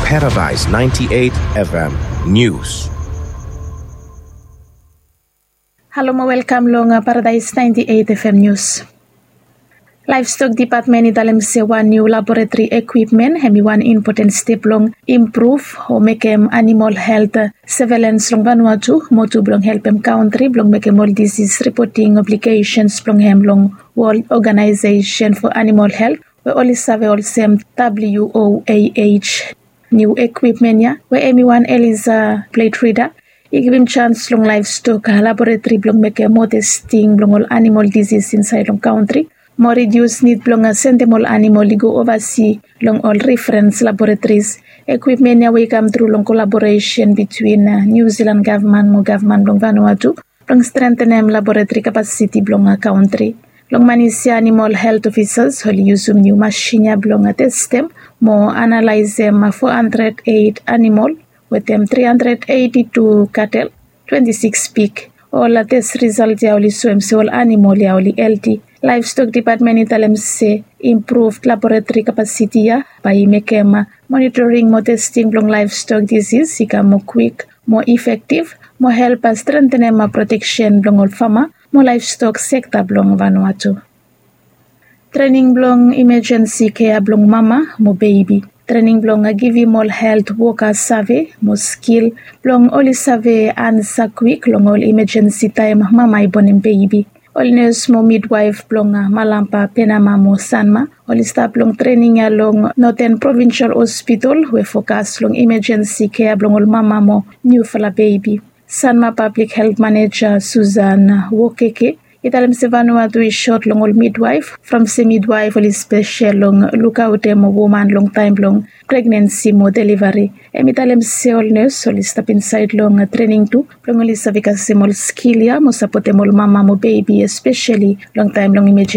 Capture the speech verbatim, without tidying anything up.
Paradise ninety-eight F M News. Halo mo welkam long Paradise ninety-eight F M News. Laevstok depatmen i talem se wan niu laboretri ekwipmen hem i wan impoten step blong impruv o mekem animol helt sevelens long Vanuatu mo tu blong helpem kantri blong mekem ol disis ripoting obligesen blong hem long Wol Oganaesesen fo Animol Helt we oli save olsem W O A H. Niu ekwipmen ya we hem i wan Eliza pleit rida i givim jans long laevstok laboretri blong mekem moa testing blong ol animol disis insaed long kantri mo ridius nid blong sendem ol animol i go ovasi long ol referens laboretris. Ekwipmen ya we i kam tru long kolaboresen bitwin Niu Silan gavman mo gavman blong Vanuatu blong strentenem laboretri kapasiti blong kantri. Long manis ya animol helt ofisas oli yusum niu masin ya blong testem mo analaesem fo handred eit animol wetem tri handred eiti tu katel, twenti sikis pik. Ol tes risalt ya oli soem se ol animol ya oli helti. Laevstok depatmen i talem se impruvd laboretri kapasiti ya bae i mekem monitoring mo testing blong laevstok disis i kam moa kwik, moa efektiv mo help strentenem proteksen blong ol fama mo laevstok sekta blong Vanuatu. Trening blong imejensi kea blong mama mo bebi. Trening blong givim ol helt woka save mo skil blong oli save ansa kwik long ol imejensi taem mama i bonem bebi. Ol nes mo midwaef blong Malampa, Penama mo Sanma oli stap long trening ya long Noten Provinsel Hospital we fokas long imejensi kea blong ol mama mo niufala bebi. Sanma pablik helt maneja Susan Wokeke i talem se Vanuatu i sot long ol midwaef from se midwaef oli spesel long lukaotem woman long taem blong pregnensi mo delivari. Hem i talem se ol nes oli stap insaed long trening tu blong oli save kasem ol skil ya mo sapotem ol mama mo bebi espeseli long taem blong imejensi.